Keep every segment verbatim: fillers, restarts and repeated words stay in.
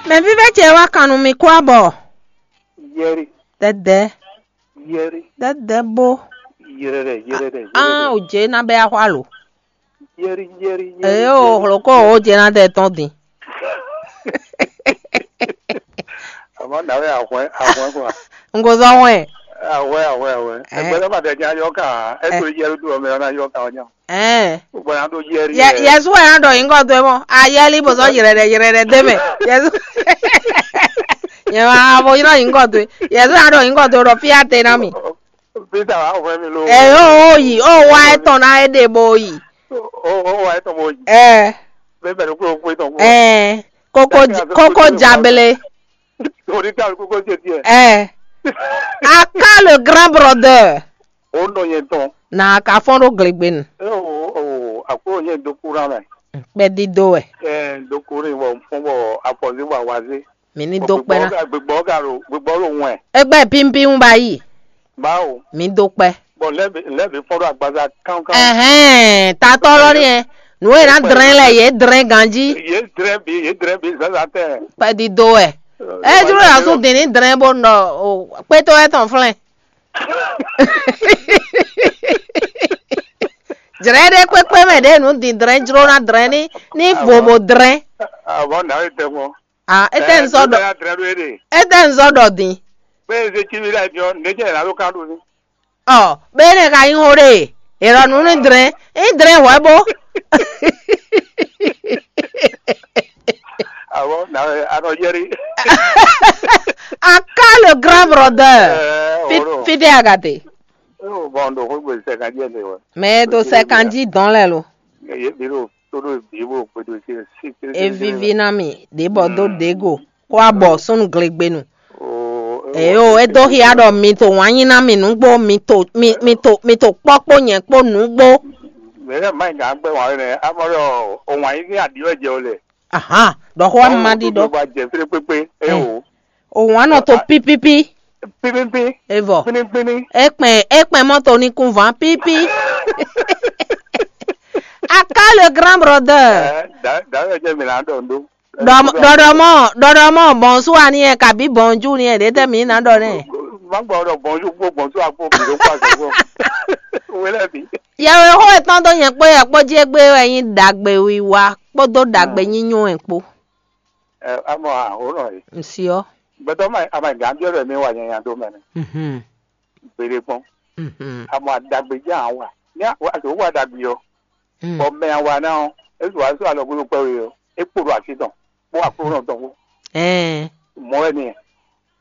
Mɛ vívɛ́ ce wá kan nú mi kú abɔ. Yɛri, Dɛdɛ, yɛri, dɛdɛ bó. Yɛrɛdɛ, yɛrɛdɛ, An yɛrɛdɛ, ò jě ná bɛ axwá lo. Yɛri, yɛri, yɛri, Eye o yɛri. Hloko o jě ná dɛ tɔn din. Àmọ́ nàwé àhwẹ́, àhwẹ́ kɔ. N ko zɔ wɛn. Àhwẹ́, àhwẹ́, àhwẹ́. Ɛ. Ẹgbẹ́ lọ́ba tẹ̀ jẹ́ ayọ́ kan. Ẹ tó yẹrú dúró mẹ́rin náà yọ kan ọjà. Ɛ. Gbogbo yẹn á tó yẹrí Yɛ- yɛ. Yesu wɛ ná ɖɔ nyǐkɔ towe mɔ. Ayɛli bó sɔ́ yrɛɖɛ yrɛɖɛ dé mɛ. Yesu. Nyɛ ma bo yrɔ nyǐkɔ towe. Yesu ná ɖɔ nyǐkɔ towe ɖɔ fí ate ná mi. Peter wà fún mi ló. Ɛ o o yi o wa etɔn ná e ɖe bo yi. O o wa etɔn bo yi. Ɛ Bẹ́ẹ̀ bẹ̀rẹ̀ kúrò kúrò tán kúrò. Ɛ kókó Ɛ, kókó ɛ, jabele. Orí ká kókó ṣe tiẹ̀. Ɛ aka le grand brother. Ó nɔ yẹn tán. Na ka fɔn ɖo glegbenu. Ẹ o o àkúrò yẹn dó kúrò mẹ́. Kpɛdido wɛ. Ẹ dó kúrò wọ fún bọ̀ àpọ̀jù wà wá sí. Mi ní dó kpɛ ná. Gbígbọ́ gà ló gbígbọ́ ló wọ̀n ẹ̀. Egbɛ pimpin ba yi. Báwo? Mi dó kpɛ. Bɔn lɛbi lɛbi fɔlɔ agbaza kankan. Ɛhɛn, tatɔ lɔ ni ɛ. Nu e na drɛn lɛ ye drɛn ganji. Ye drɛn bi ye drɛn bi zaza tɛ. Kpɛdido wɛ. Ɛ dúró yà sún dín ní drɛn bó nɔ o kpétó ɛ tɔn flɛn. Jrɛ ɖe kpékpé mɛ ɖe nu dín drɛn jró na drɛn ní ní vovo drɛn. Àbọ̀ nàá yẹ tẹ mọ́. Ah, ete nzɔ ɖɔ. Ete nzɔ ɖɔ din. Pé eze tí mi ɖe ayi ɔ nɖe jɛ la ló kan ɖo ní. Ɔ bene ka yin ho ɖe. Erɔ nu ní drɛn ní drɛn hwɛ bó. Àbọ̀ nàá yẹ anɔ yẹri. Aka le grand brother. Fide agate. Bɔn ɖo xó gbèsè sɛkan jẹ ne wɛ. Mɛ to sɛkan ji dɔn lɛ lo. Yé bi ɖo tó ɖo bi bó gbèdó sí sí sí. Evivi na mi ɖe bɔ do ɖe go kó abɔ súnnu glegbenu. Eyo e dó xia ɖɔ mi to wǎn nyi ná mi nǔgbó mi to mi mi to mi to kpɔ́ kpó nyɛ kpó nǔgbó. Mɛ lɛ mayi gǎn gbɛ wǎn nɛ amɔ ɖɔ o wǎn yí ní aɖi wɛ jɛ o lɛ. Ahan ɖɔ xó ma ɖi ɖɔ. Ba jɛ fí kpékpé. Eye o. O wǎn nɔ to pípípí. Pípípí. Evɔ. Pínípíní. Ekpɛn ekpɛn mɔto ní kún vǎn pípí. Aka le grand brother. Ɛ da da yɛ jɛ mi la dɔ ndo. Ɖɔɖɔmɔ ɖɔɖɔmɔ bɔnsu ani yɛ kabi bɔnju ni yɛ ɖe tɛ mi na ɖɔ nɛ. Má gbɔ ɖɔ bɔnju kpó bɔnsu akpó bi ɖo kpó azɔ kpó. Wele bi. Yɛwɛ xó etɔn dó nyɛ kpó yɛ kpó jí égbé wɛ nyí ɖagbe wiwa kpódó ɖagbe nyínyo wɛ kpó. Ɛ amɔ ahónɔ yi. Nsiɔ. Gbɛtɔ ma ama gã biɔ ɖɔ mi wa nyanya ɖo mɛ nɛ. Mhm. Gbede kpɔn. Mhm. Amɔ adagbe jɛ awa. Ní azɔ wa dagbe ɔ. Mm. Bɔ mɛ awa na ɔ ezu wa sɔ alɔ gbogbo kpɛ we ɔ ekpo ɖo asi tɔn kpó akplɔ tɔn kpó. Ɛɛ. Mɔ wɛ ni.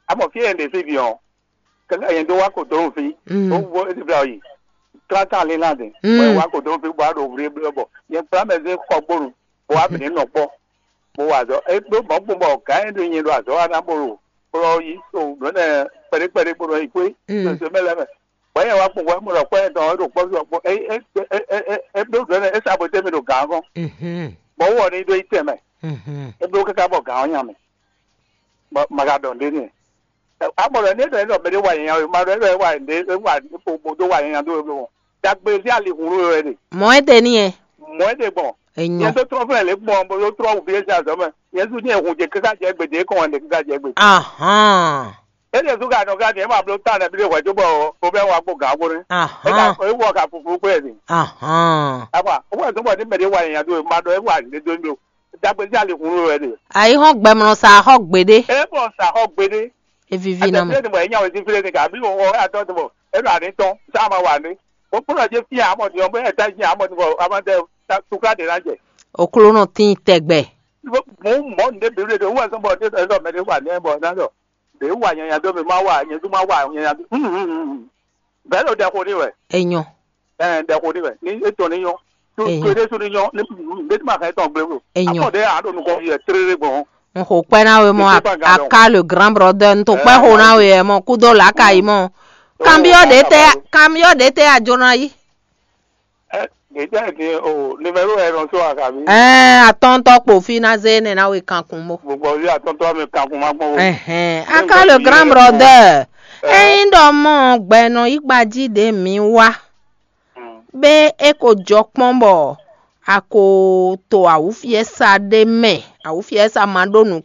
Amɔ fi yɛn ɖe fi bi ɔ. Kɛkɛ yɛn do wa ko dɔrɔn fi. Mm. O wo e ti bla yi. Trente ans lé lan de. Mm. Bɔ wa ko dɔrɔn fi bɔ a ɖo wuli bla bɔ yɛn kpla mɛ zé xɔ gbonu. Bɔ wa bɛ ne nɔ kpɔ. Bó wa azɔ é ɖó mɔ̌ kpɔ́n bɔ gǎn e ɖo nyi ɖo azɔ̌ wa ná bó ɖo kplɔ́ yí so nǔ énɛ́ kpɛɖé kpɛɖé bó nɔ yi xwé sose mɛ lɛ́ɛ mɛ. Bɔ̌ nyɛ wá kpɔ́n bɔ é mɔ ɖɔ kpɔ́ nyɛ tɔn é ɖo kpɔ́ sɔ kpɔ́ é é é é é é bló nǔ énɛ́ é sa bo tɛ́ mì ɖo gǎn ɔ́ gɔ́n. Bɔ wú ɔ ní ɖó yi tɛn mɛ, é bló káká bɔ gǎn ɔ́ nya mɛ. Bɔ ma ka ɖɔ nǔɖé n'i. Amɔ ɖɔ ní é ɖɔ é ɖɔ mɛɖé wa nyanya wɛ, ma ɖɔ é ɖɔ é wa ɖě é wa bo dó wa nyanya dó we bló mɔ. Dagbe ví alihun ɖó wɛ ɖe. Mɔ̌ é te n'i ɛ. Mɔ̌ é ɖe gbɔn. Enyɔ. Nyɛ tó trɔ́n flɛ́ lě gbɔn bó tó trɔ́n wǔ bí é sín azɔ̌ mɛ. Nyɛ sú ní ehun jɛ kíká jɛ gbèdé kɔn wɛ ɖe kíká jɛ gbèdé. Ahán. É ɖe sú ka nɔ ká ní é ma bló tán nɛbí ɖé hwɛ̌ cóbɔ o bɛ́ wa kpó gǎn kpó nɛ́. É ka Ahán. É wɔ ka fufú kpé ɛ din. Ahán. Apa ó wɛ zɔ́n bɔ ní mɛɖé wa nyanya dó e ma ɖɔ é wa nyě dó ní ɖo. Dagbe sí alihun ló wɛ ɖe. Ayihɔn gbɛmlɔ sa xɔ gbeɖe. É bɔ sa xɔ gbeɖe. Evivi na mɛ. Àtẹ̀sílẹ̀ ni mọ̀ ẹ́ nyàwé sí fílẹ̀ ni kà bí wọ́n wọ́n wẹ́ àtọ́ ti mọ̀ é ɖo àní tán sáà máa wà ní. Ó kúrò jẹ́ fíà àmọ́ ti ọmọ ẹ̀ tá jẹ́ àmọ́ ti mọ̀ àmọ́ tẹ tukla de la jɛ. Oklo nɔ tin tɛgbɛ. Mo mɔ ne bi le de wɔ sɔn bɔ ne dɔ mɛ de wa ne bɔ na dɔ de wa nyanya do mi ma wa nyɛ du ma wa nyanya do. Bɛɛ lo dɛ ko ni wɛ. Enyɔ. Ɛɛ dɛ ko ni wɛ ni e tɔ ni nyɔ. Tu Enyɔ. Tu de su ni nyɔ ni ne ti ma ka e tɔn gble ko. Enyɔ. Akɔ de a do nukɔ yɛ tere gbɔn. N xo kpɛ na we mɔ. Aka le grand brother n to kpɛ xo na we mɔ kudo la ka yi mɔ. Kanbiɔ de tɛ kanbiɔ de tɛ a jona yi. Ɛ gɛdɛ ni o numéro ɛ nɔ so akabi. Ɛɛ atɔntɔ kpo fi na ze ne na we kankun mo. Gbogbo wi atɔntɔ mi kankun ma gbɔn wo. Ɛhɛn aka le grand brother. Ɛyin dɔ mɔ gbɛnɔ yi gbaji de mi wa. Be e ko jɔ kpɔn bɔ a ko to awufiɛsa ɖe mɛ awufiɛsa ma ɖo nu.